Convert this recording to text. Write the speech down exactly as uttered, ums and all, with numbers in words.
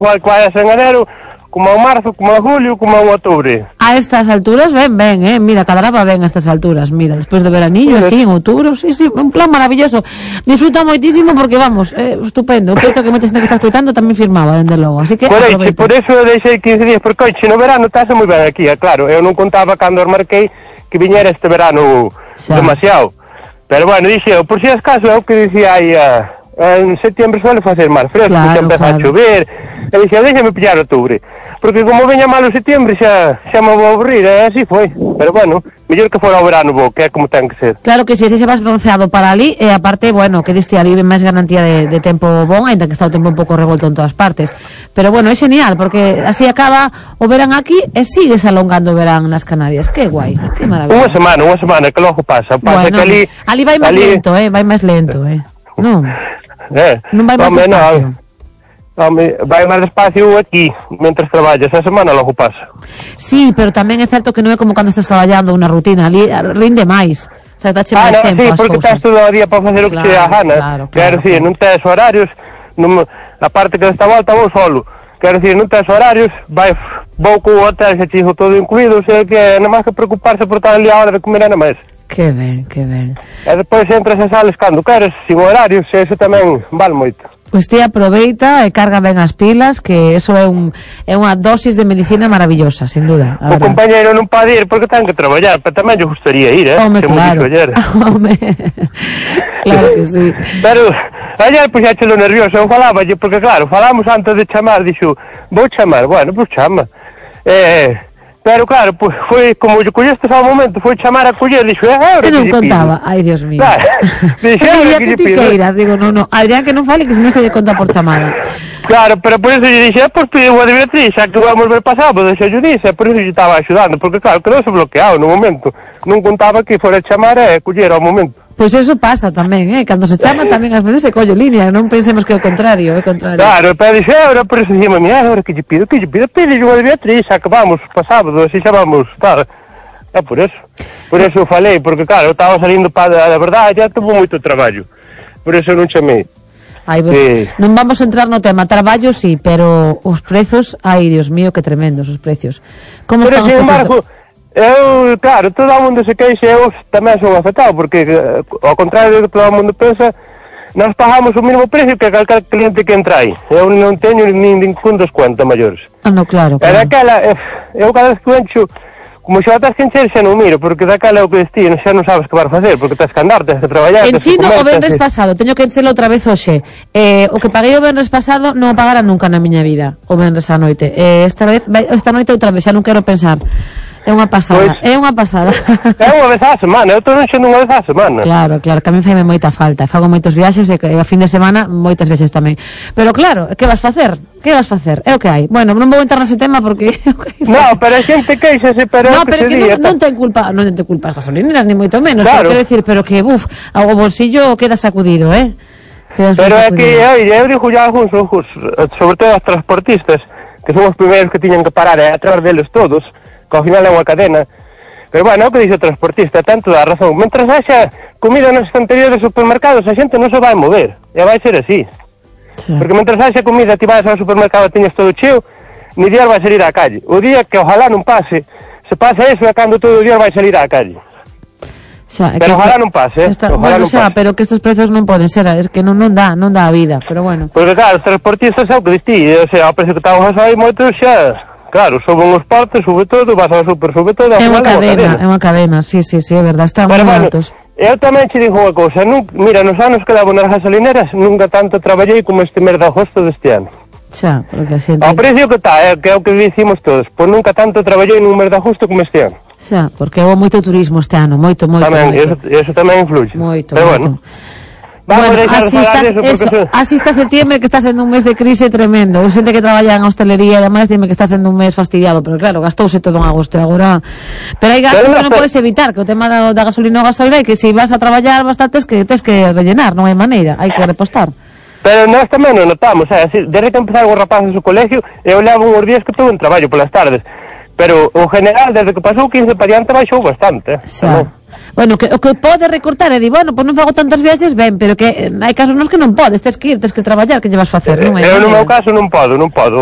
igual que vayas en enero, como en marzo, como en julio, como en octubre. A estas alturas, ven, ven, eh, mira, Cadraba ven a estas alturas, mira, después de veranillo, así, en outubro, sí, sí, un plan maravilloso. Disfruta moitísimo porque, vamos, eh, estupendo. Eu penso que moita xente que está escutando tamén firmaba, dende logo, así que Coleche, por eso eu deixei quince días, porque, oiche, no verano estás moi ben aquí, é claro, eu non contaba cando os marquei que viñera este verano xa demasiado. Pero, bueno, dixe eu, por si as caso, é o que dicía aí, a... en setembro suele facer máis fresco, claro, xa empeza claro. a chover, e dixen, déxame pillar outubro, porque como veña malo setembro xa, xa me vou aburrir, e así foi, pero bueno, mellor que fora o verano bo, que é como ten que ser. Claro que si, sí, se vas bronceado para ali, e aparte, bueno, que diste ali máis garantía de, de tempo bon, ainda que está o tempo un pouco revolto en todas partes, pero bueno, é genial, porque así acaba o verán aquí, e sigues alongando o verán nas Canarias, que guai, que maravilla. Unha semana, unha semana, que logo pasa, pasa bueno, que ali... Ali vai máis ali... lento, eh, vai máis lento, eh, non... Eh, non vai máis despacio. No, vai máis despacio aquí, mentras traballas, a semana logo pasa. Sí, pero tamén é certo que non é como cando estás traballando unha rutina, ali rinde máis. O sea, dáche ah, máis no, tempo sí, as porque cousas. estás todo o día para facer o que claro, te dá gana. Claro, claro, Quero dicir, claro. non tes horarios, non, a parte que desta volta vou solo. Quero dicir, non tes horarios, vai, vou co hotel, xa chijo todo incluído, o sea que non máis que preocuparse por estar ali a hora de comer nada máis. Que ben, que ben. E depois entras a sales cando queres, sin horarios, e eso tamén vale moito. Pois ti aproveita e carga ben as pilas, que eso é un é unha dosis de medicina maravillosa, sin duda. O compañeiro non pode ir porque ten que traballar, pero tamén lle gustaría ir, eh? Home, claro. Home, claro que sí. Pero, ayer pois xa chelo nervioso, eu falaba, porque claro, falamos antes de chamar, dixo, vou chamar, bueno, pois chama. Eh... Pero claro, pues, foi como lle collestes ao momento, foi chamar a coller, dixo, é a hora que non contaba, ai Dios mío. Claro, dixo, é a hora que lle pido. Queiras, digo, no, no, Adrián que non fale que se non se lle conta por chamada. Claro, pero por eso lle dixo, pois pide unha de Beatriz, xa que vamos ver pasado, pois xa lle dixo, por eso lle estaba axudando, porque claro, que non se bloqueado no momento, non contaba que fora chamar e coller ao momento. Pois pues eso pasa tamén, eh, cando se chama tamén ás veces se colle línea, non pensemos que é o contrario, é o contrario. Claro, pero dixe, ahora por eso dixemos, mira, ahora que lle pido, que lle pido, pide unha de Beatriz, xa que vamos, pa sábado, así xa vamos estar. É por eso, por eso falei, porque claro, eu estaba salindo para, a verdade, já tuvo moito traballo, por eso non chamei. Ai, bueno, eh... non vamos a entrar no tema traballo, sí, pero os prezos, ai, Dios mío, que tremendos os precios. Como pero están os precios? Embargo, de... Eu, claro, todo o mundo se queixa, eu tamén son afectado, porque ao contrario do que todo o mundo pensa, nós pagamos o mesmo precio que calquer cliente que entra aí. Eu non teño nin ningún descuento maiores. Ah, no, claro, claro. E daquela, eu cada vez que encho, como xa estás que encher, xa non miro, porque daquela é o que destino, xa non sabes que vas facer, porque tens que andar, tens que traballar, en chino o venres pasado, teño que enchelo outra vez hoxe. Eh, o que paguei o venres pasado non o pagara nunca na miña vida, o venres a noite. Eh, esta vez, esta noite outra vez, xa non quero pensar. É unha pasada, pois, é unha pasada. É unha vez á semana, eu estou enchendo unha vez á semana. Claro, claro, que a mí faime moita falta. Fago moitos viaxes e a fin de semana moitas veces tamén. Pero claro, que vas facer? Que vas facer? É o que hai. Bueno, non vou entrar nese tema porque... No, pero a xente queixase, pero... No, pero que non, non ten culpa, non ten culpa as gasolineras, ni moito menos. Claro. Quero decir, pero que, buf, o bolsillo queda sacudido, eh? Queda pero é que, oi, eu digo ya algúns, sobre todo os transportistas, que son os primeiros que tiñan que parar e atrás deles todos, que ao final é unha cadena. Pero bueno, é o que dice o transportista, tanto dá razón. Mentras haxa comida nas estanterías dos supermercados, a xente non se vai mover. E vai ser así. Sí. Porque mentras haxa comida, ti vas ao supermercado e tiñas todo cheo, ni día vai salir á calle. O día que ojalá non pase, se pasa eso é cando todo o día vai salir á calle. Xa, pero ojalá esta, non pase, eh? Esta, ojalá bueno, non xa, pase. Pero que estos prezos non poden ser, es que non, non dá, non dá a vida, pero bueno. Porque claro, os transportistas é o que distí, o sea, ao precio que estamos aí moitos xa... Claro, suben os partes, sube todo, vas ao super, sube todo. É unha cadena, é unha cadena, sí, sí, sí, é verdad, están moi altos. Eu tamén che digo unha cousa, mira, nos anos que dabo nas gasolineras, nunca tanto traballei como este mes de agosto deste ano. Xa, porque así... Ao precio que está, é, que é o que dicimos todos, pois nunca tanto traballei nun mes de agosto como este ano. Xa, porque houve moito turismo este ano, moito, moito, tamén, moito. Eso, eso tamén influye. Moito, pero moito. Bueno. Vamos bueno, así está, eso, eso, son... así está septiembre, que está sendo un mes de crise tremendo. Eu xente que traballa en hostelería e demais dime que está sendo un mes fastidiado, pero claro, gastouse todo en agosto e agora... Pero hai gastos pero que non pero... podes evitar, que o tema da, da gasolina ou gasolina é que se vas a traballar bastante que tes que rellenar, non hai maneira, hai que repostar. Pero nós tamén non notamos, eh? Así, desde que empezaron os rapaces o colegio, eu levo uns días que estou en traballo polas tardes. pero o general desde que pasou quince para diante baixou bastante. Xa. Bueno, que, o que pode recortar é di, bueno, pois non fago tantas viaxes, ben, pero que hai casos nos que non podes, tes que ir, tes que traballar, que lle vas facer, non é? Eu no meu caso non podo, non podo.